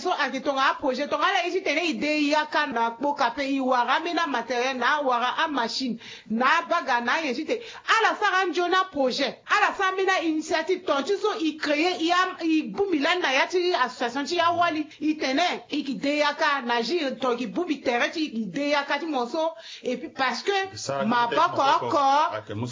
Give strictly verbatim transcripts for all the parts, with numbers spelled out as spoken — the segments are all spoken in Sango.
so ayeke tongana aprojet, tongana ala ye ti tene e de yaka na kpoka ape, e wara ambeni amatériel na awara amachine na abaga na ayen ti tene ala sara anzoni aprojet. Ala sara ambeni ainitiative, ton ti so e créer e am- e bongbi lani na ya ti association ti awali, e tene e ke de yaka na gi ton e ke bongbi tere ti e ke de yaka ti mo so. Et puis parce que maboko oko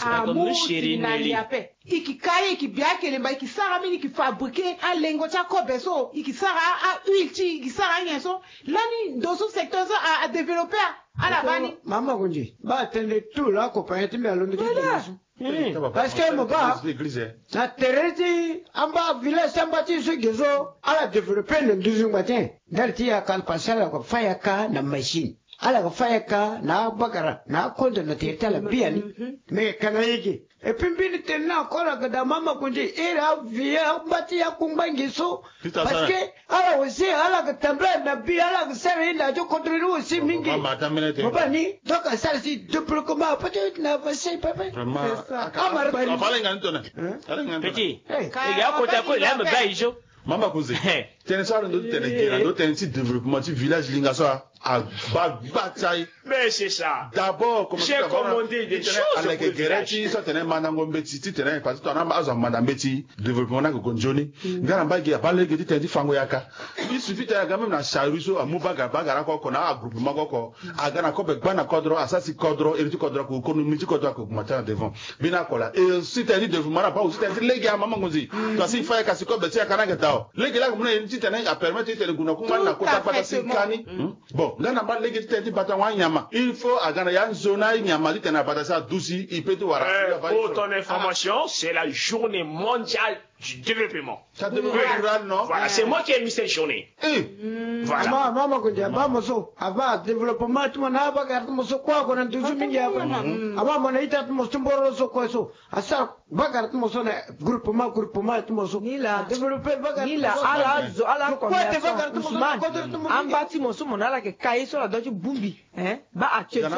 amu siri na li ape. E ke kai, e ke bia kelemba, e ke sara ambeni, e ke fabriquer alengo ti akobe so, e ke sara ahuile ti e, e ke sara anyen so. Lani ndo so secteur so a- adévelopper. Ala baa ni. Mama Gunzi, baa tënë tout la compagnie ti mbi alondo ti dengo so. Parce que mo baa na tere ti amba village ti amba ti so ge so ala développer na nduzu ngba ti en. Ndali ti yaka, parce que ala yeke fâ yaka na machine, ala yeke fâ yaka na abagara na akondo na tere ti ala biani. Mais kana ye ge. Et puis mbeni tene ni encore, aga daa, Mama Gunzi, iri avi amba ti akungba ngi so. Parce que ala aussi ala yeke tambula na bi, ala yeke sara ye na azo contrôler aussi mingi. Mo baa ni, donc asara si débloquement peut-être na avancé pepe. Amara bari. Petit. Ega akota ko la me ba ijo. Mama Gunzi. Tene so alondo ti tene ge na ndo tene ti développement ti village linga so a- abaa gba ti aye. Mais c'est ça. D'abord, comme j'ai commandé des choses, aleke gere ti so atene mandango mbeti ti tene, parce que tongana azo amanda mbeti, développement ni ayeke gue nzoni. Nga na mba gi abaa lege ti tene ti fango yaka. Il suffit tene aga même na charrue so amu bagara bagara oko oko na agroupement oko oko, aga na kobe gba na kodro, asara si kodro, iri ti kodro ake, économie ti kodro ake augmenter na devant. Mbeni oko laa. Et aussi tene ti développement ni abaa aussi tene ti lege, Mama Gunzi. Parce que il faut ayeke si kobe ti yaka ni ayeke dao. Lege laa ayeke mu na ye ni ti tene apermettre ti tene gue na kungba ni na kota gbata si ka ni. Bon, nga na mba lege ti tene ti batango anyama, il faut aga na ya nzoni anyama ti tene abata si aduti, e peut ti wara. Eh, pour ton information, c'est la journée mondiale du développement. Ça, développement rural, non? Voilà, c'est moi qui ai mis cette journée. Eh. Voilà. Ama, ama, ama, kunja, ama, mo so, ava développement ti mo na ava gara ti mo so, kua, kua na nduzu mingi, ava. Ama, mo na ita ti mo so, mboro so, kua so. Asara bagara ti mo so na groupement, groupement ti mo so. Ni la. Adévelopper bagara ti mo so. Ni la, ala zo, ala commerçant. Ousmane, amba ti mo so mo na ala yeke ka ye so ala doit ti bongbi. Hein? Baa actuel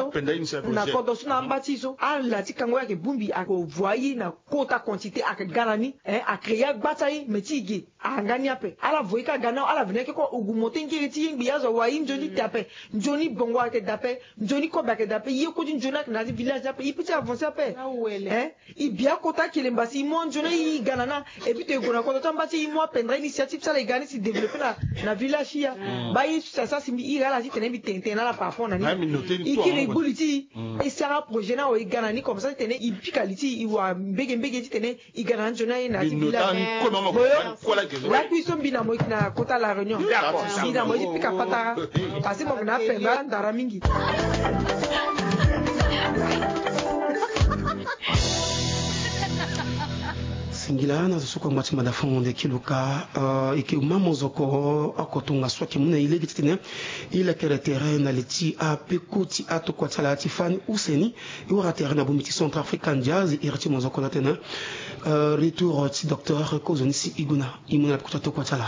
so na kodro so na amba ti e so, ala ti kango ye ayeke bongbi, ayeke voyer na kota quantité, ayeke ga na ni. Hein? Acréer agba ti aye, mais ti e ge. Ahanga ni ape. Ala voyer kâ aga na ala veni ayeke kue augmenter ngere ti ye ngbi, azo awara ye nzoni ti da ape. Nzoni bongo ayeke da ape. Nzoni kobe ayeke da ape. Ye kue ti nzoni ayeke na ya ti village ni ape. E peut ti avancer ape. Hein? E bia kota kelemba si e mu anzoni aye e ga na ni. Et puis tongana e gue na kodro ti amba ti e, e mu apendre initiative ti ala e ga ni si développer na, na village ti e ya. Baa ye so si asara si mbi iri ala ti tene mbi tene tene na ala par rapport na ni. E kiri e gbu li ti e. E sara projet ni awe e ga na ni comme ça ti tene e pika li ti e, e wara mbege mbege ti tene e ga na anzoni aye na ya ti village. Lakui so mbi na mo e yeke na kota La Réunion. D'accord. Mbi na mo e ti pika patara. Parce que mo yeke na apendre ndara mingi. Singila na zo so kue angba ti mada fango nde kiluka, eh, e yeke ma mozoko oko tongaso ayeke mu na e lege titene e lekere tere na li ti apeko ti atokua ti ala ti fani use ni. E wara tere na bongbi ti Centrafrican Jazz, iri ti mozoko na tene, eh, retour ti docteur Kozoni si e gue na e mu na peko ti atokua ti ala.